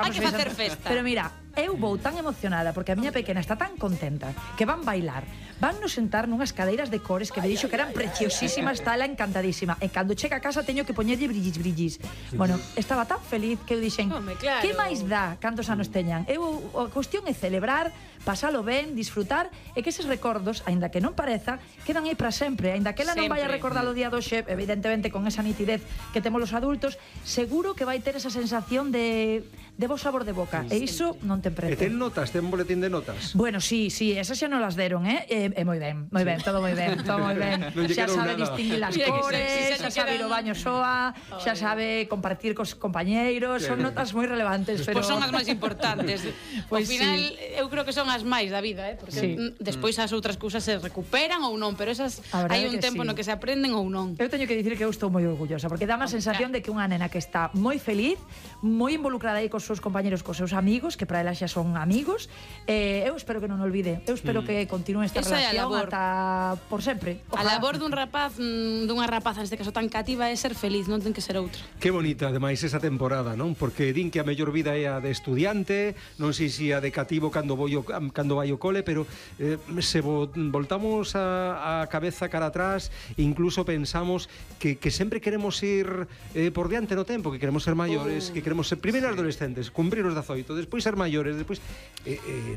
Hai que facer festa. Pero mira, eu vou tan emocionada porque a miña pequena está tan contenta que van bailar, van nos sentar nunhas cadeiras de cores que me dixo que eran preciosísimas, está ela encantadísima. E cando chega a casa teño que poñerlle brillis. Bueno, estaba tan feliz que eu dixen, claro. que máis dá cantos anos teñan? A cuestión é celebrar, pasalo ben, disfrutar e que eses recordos, aínda que non pareza, quedan aí para sempre, aínda que ela non vai a recordar o día do xe, evidentemente con esa nitidez que temos os adultos, seguro que vai ter esa sensación de bo sabor de boca, e iso non ten prezo. E ten notas, ten boletín de notas? Bueno, sí, esas xa non las deron, moi ben, todo moi ben. Xa sabe distinguir las cores, xa sabe ir ao baño soa, xa sabe compartir cos compañeiros, son notas moi relevantes, pero... Pois son as máis importantes. Ao final, eu creo que son as máis da vida, porque despois as outras cousas se recuperan ou non, pero esas hai un tempo no que se aprenden ou non. Eu teño que dicir que eu estou moi orgullosa, porque dá má sensación de que unha nena que está moi feliz, moi involucrada aí cos seus compañeros, cos seus amigos, que para ela xa son amigos, eu espero que non olvide, eu espero que continúe esta relación ata por sempre. A labor dun rapaz, dunha rapaza neste caso tan cativa é ser feliz, non ten que ser outra. Que bonita, ademais, esa temporada, non? Porque din que a mellor vida é a de estudiante, non sei se a de cativo cando vai ao cole, pero se voltamos a cabeza cara atrás, incluso pensamos que sempre queremos ir por diante no tempo, que queremos ser maiores, que queremos ser primeiro adolescentes, cumprir os 18, despois ser maiores, despois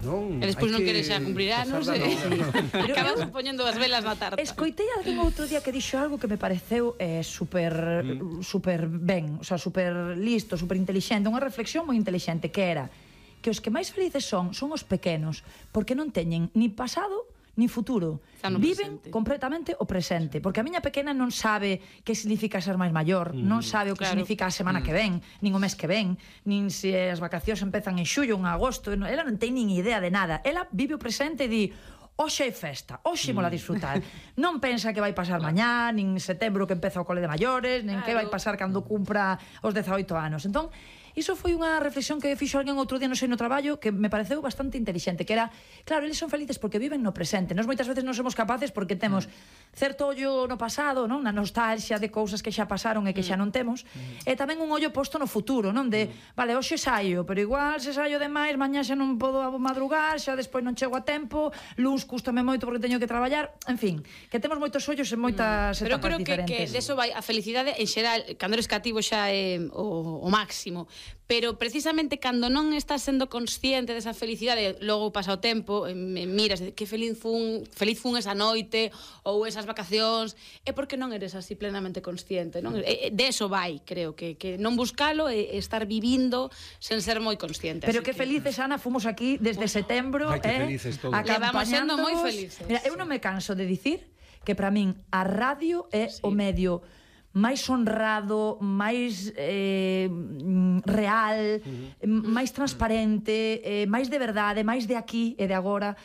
non. E despois non queres xa cumprir anos, acabas poñendo as velas na tarta. Escoitei alguén outro día que dixo algo que me pareceu super ben, o sea, super listo, super intelixente, unha reflexión moi intelixente, que era que os que máis felices son os pequenos, porque non teñen ni pasado ni futuro, viven completamente o presente, porque a miña pequena non sabe que significa ser máis maior, non sabe o que significa a semana que ven, nin o mes que ven, nin se as vacacións empezan en xullo ou en agosto, ela non ten nin idea de nada, ela vive o presente e di, hoxe é festa, hoxe mola disfrutar. Non pensa que vai pasar mañá, nin setembro que empeza o cole de maiores, nin que vai pasar cando cumpra os 18 anos. Entón, iso foi unha reflexión que fixo alguén outro día, non sei, no traballo, que me pareceu bastante inteligente, que era, claro, eles son felices porque viven no presente. Nós moitas veces non somos capaces porque temos certo ollo no pasado, non? Na nostalgia de cousas que xa pasaron e que xa non temos, e tamén un ollo posto no futuro, non? De, vale, hoxe saio, pero igual se saio demais, mañá xa non podo madrugar, xa despois non chego a tempo, luns cústame moito porque teño que traballar, en fin, que temos moitos ollos en moitas etapas diferentes. Pero creo que deso vai a felicidade en xeral, cando eres cativo xa é o máximo, pero precisamente cando non estás sendo consciente desa felicidade, logo pasa o tempo, miras que feliz fun esa noite ou esas vacacións, é porque non eres así plenamente consciente, non? De eso vai, creo, que non buscalo e estar vivindo sen ser moi consciente. Pero que felices, Ana, fomos aquí desde setembro, Levamos sendo moi felices. Mira, eu non me canso de dicir que para min a radio é o medio máis honrado, máis real, máis transparente, máis de verdade, máis de aquí e de agora.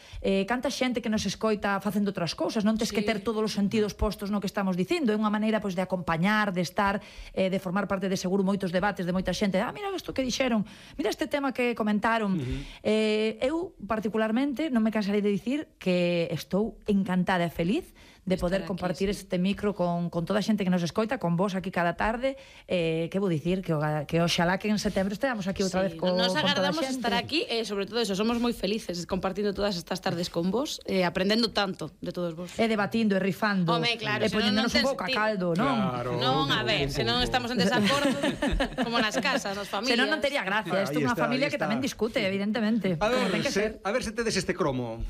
Canta xente que nos escoita facendo outras cousas, non tes que ter todos os sentidos postos no que estamos dicindo, é unha maneira de acompañar, de estar, de formar parte de seguro moitos debates de moita xente. Mira isto que dixeron, mira este tema que comentaron. Eu, particularmente, non me cansarei de dicir que estou encantada e feliz de poder compartir este micro con toda a xente que nos escoita, con vos aquí cada tarde, que vou dicir que oxalá que en setembro esteamos aquí outra vez con toda a xente. Nos agardamos estar aquí e sobre todo eso, somos moi felices compartindo todas estas tardes con vos, aprendendo tanto de todos vos. E debatindo, e rifando, claro, e poñéndonos un pouco a caldo, non? Non, a ver, se non estamos en desacordo, como nas casas, nas familias. Se non tería gracia, isto é unha familia que tamén discute, evidentemente. A ver se tedes este cromo.